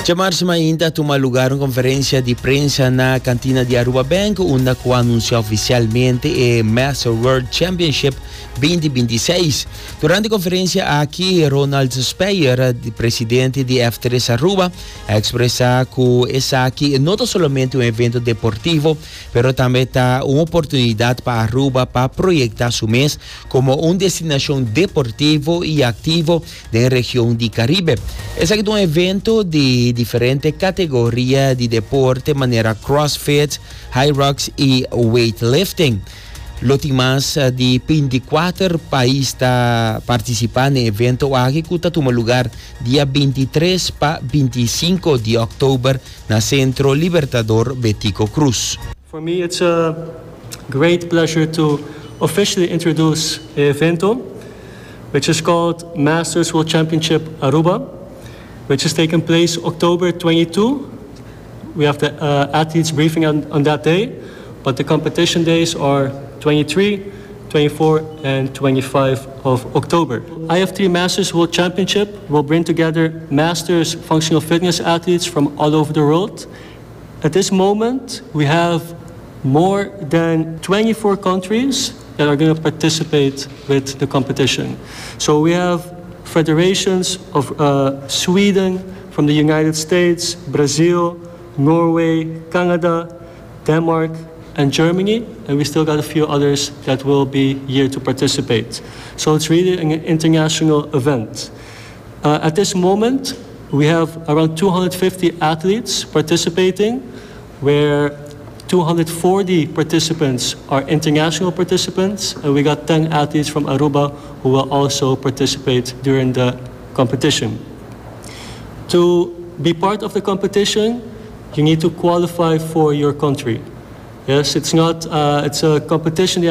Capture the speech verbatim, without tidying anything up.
Diamars ainda a tuma lugar un conferencia di prensa na cantina di Aruba Bank, unda a anuncia oficialmente e Master World Championship dos mil bintiseis. Durante e conferencia aki, Ronald Speyer, presidente di F tres Aruba, a expresa cu esaki no ta solamente un evento deportivo, pero tambe ta un oportunidad pa Aruba pa proyecta su mes como un destinacion deportivo y activo den region di Caribe. Esaki ta un evento di diferente categoria di deporte, manera CrossFit, Hyrox y weightlifting. Lo tin mas di binticuater pais ta participando na e evento aki, cu ta tuma lugar dia bintitres pa binticinco di october na Centro Libertador Betico Croes. For me, it's a great pleasure to officially introduce the evento, which is called Masters World Championship Aruba, which is taking place October twenty-second. We have the uh, athletes briefing on, on that day, but the competition days are twenty-three, twenty-four, and twenty-five of October. I F three Masters World Championship will bring together masters functional fitness athletes from all over the world. At this moment, we have more than twenty-four countries that are going to participate with the competition. So we have federations of uh, Sweden, from the United States, Brazil, Norway, Canada, Denmark, and Germany, and we still got a few others that will be here to participate. So it's really an international event. Uh, at this moment, we have around two hundred fifty athletes participating, where two hundred forty participants are international participants, and we got ten athletes from Aruba who will also participate during the competition. To be part of the competition, you need to qualify for your country. Yes, it's not. Uh, it's a competition.